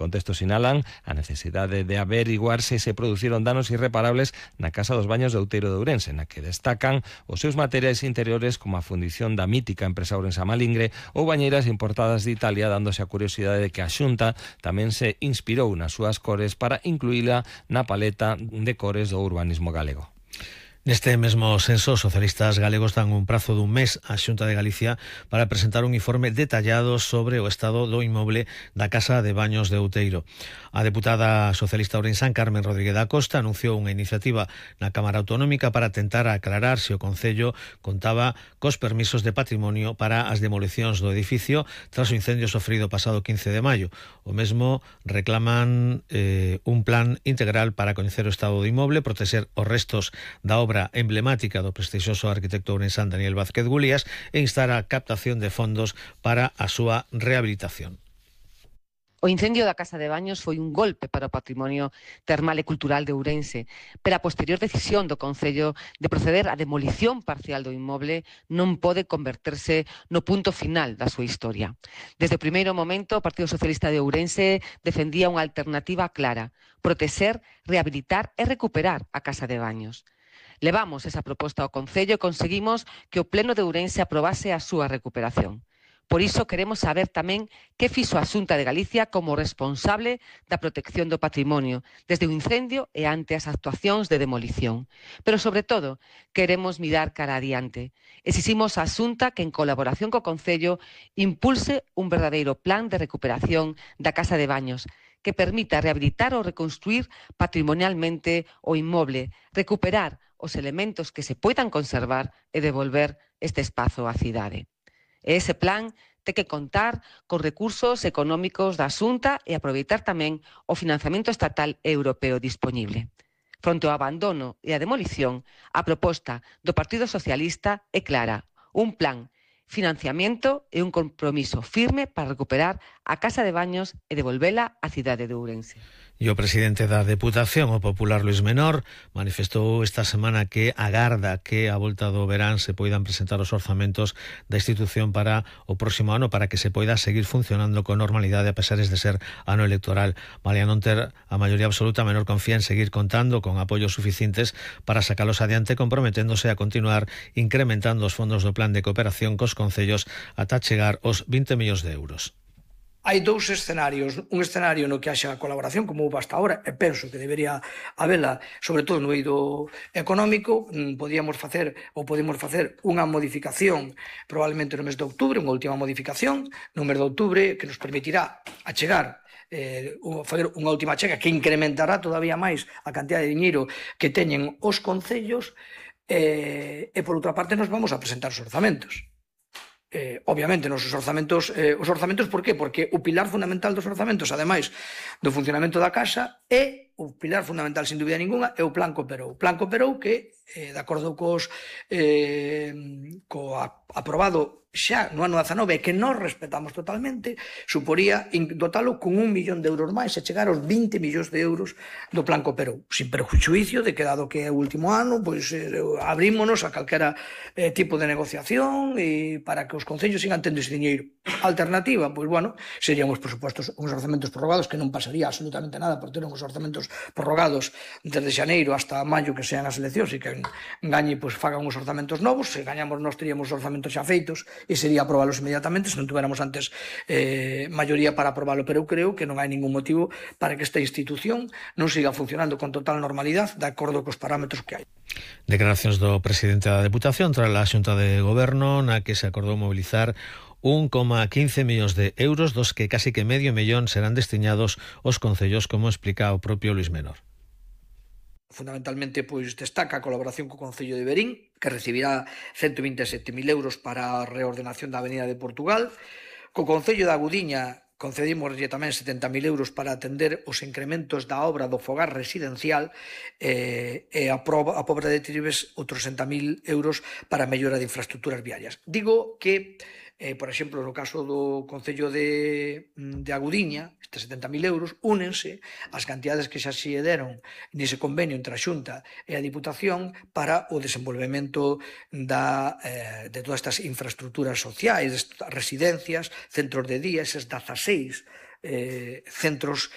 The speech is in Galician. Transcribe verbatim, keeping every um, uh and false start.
contexto sinalan a necesidade de averiguar se se produciron danos irreparables na Casa dos Baños de Outeiro de Ourense, na que destacan os seus materiais interiores como a fundición da mítica empresa ourensa Malingre ou bañeiras importadas de Italia, dándose a curiosidade de que a Xunta tamén se inspirou nas súas cores para incluíla na paleta de cores do urbanismo galego. Neste mesmo senso, os socialistas galegos dan un prazo dun mes á Xunta de Galicia para presentar un informe detallado sobre o estado do inmoble da Casa de Baños de Outeiro. A deputada socialista ourensán Carmen Rodríguez da Costa anunciou unha iniciativa na Cámara Autonómica para tentar aclarar se o Concello contaba cos permisos de patrimonio para as demolicións do edificio tras o incendio sofrido pasado quince de maio. O mesmo reclaman eh, un plan integral para coñecer o estado do inmoble, protexer os restos da obra emblemática do prestixioso arquitecto ourensán Daniel Vázquez Gulías e instar a captación de fondos para a súa rehabilitación. O incendio da Casa de Baños foi un golpe para o patrimonio termal e cultural de Ourense, pero a posterior decisión do Concello de proceder á demolición parcial do inmoble non pode converterse no punto final da súa historia. Desde o primeiro momento, o Partido Socialista de Ourense defendía unha alternativa clara: protexer, rehabilitar e recuperar a Casa de Baños. Levamos esa proposta ao Concello e conseguimos que o Pleno de Ourense aprobase a súa recuperación. Por iso queremos saber tamén que fixo a Xunta de Galicia como responsable da protección do patrimonio desde o incendio e ante as actuacións de demolición. Pero, sobre todo, queremos mirar cara adiante. Exiximos á Xunta que, en colaboración co Concello, impulse un verdadeiro plan de recuperación da Casa de Baños que permita rehabilitar ou reconstruir patrimonialmente o inmoble, recuperar os elementos que se poidan conservar e devolver este espazo á cidade. E ese plan ten que contar con recursos económicos da Xunta e aproveitar tamén o financiamento estatal e europeo dispoñible. Fronte ao abandono e a demolición, a proposta do Partido Socialista é clara: un plan, financiamento e un compromiso firme para recuperar a Casa de Baños e devolvela á cidade de Ourense. E o presidente da Deputación, o popular Luís Menor, manifestou esta semana que agarda que a volta do verán se poidan presentar os orzamentos da institución para o próximo ano para que se poida seguir funcionando con normalidade a pesares de ser ano electoral. Malia non ter a maioría absoluta, Menor confía en seguir contando con apoios suficientes para sacalos adiante, comprometéndose a continuar incrementando os fondos do plan de cooperación cos concellos ata chegar aos vinte millóns de euros. Hai dous escenarios, un escenario no que haxa colaboración como houve hasta ahora, e penso que debería habela, sobre todo no eido económico. Podíamos facer ou podemos facer unha modificación probablemente no mes de outubro, unha última modificación no mes de outubro que nos permitirá achegar eh, fazer unha última chega que incrementará todavía máis a cantidad de diñeiro que teñen os concellos, eh, e por outra parte nos vamos a presentar os orzamentos. Eh, obviamente, nos orzamentos, eh, os orzamentos, por qué? Porque o pilar fundamental dos orzamentos, ademais do funcionamento da casa, é o pilar fundamental, sin dúbida ninguna, é o Plan Cooperou. Plan Cooperou que, eh, de acordo cos eh, co aprobado xa no ano dezanove, que nós respetamos totalmente, suporía dotalo con un millón de euros máis e chegar aos vinte millóns de euros do Plan Cooperou, sin perjuízo de que, dado que é o último ano, pois eh, abrímonos a calquera eh, tipo de negociación e para que os concellos sigan tendo ese diñeiro. Alternativa, pois bueno, serían os presupostos, uns orzamentos prorrogados, que non pasaría absolutamente nada por ter uns orzamentos prorrogados desde xaneiro hasta maio, que sean as eleccións, e que gañe, pois fagan os orzamentos novos. Se gañamos, nós teríamos os orzamentos xa feitos e sería aprobalos inmediatamente se non tuveramos antes eh, maioría para aprobalo, pero eu creo que non hai ningún motivo para que esta institución non siga funcionando con total normalidade de acordo cos parámetros que hai. Declaracións do presidente da Deputación tras a Xunta de Goberno, na que se acordou mobilizar un coma quince millóns de euros, dos que casi que medio millón serán destinados aos concellos, como explica o propio Luís Menor. Fundamentalmente, pois, destaca a colaboración co Concello de Verín, que recibirá ciento vinte e sete mil euros para a reordenación da Avenida de Portugal. Co Concello da Gudiña concedimoslle tamén setenta mil euros para atender os incrementos da obra do fogar residencial, eh, e a, proba, a Pobra de Tribes outros sesenta mil euros para a mellora de infraestructuras viarias. Digo que Eh, por exemplo, no caso do Concello de, de Agudiña, estes setenta mil euros únense as cantidades que xa se deron nese convenio entre a Xunta e a Diputación para o desenvolvemento da, eh, de todas estas infraestructuras sociais, residencias, centros de día, eses dezaseis eh, centros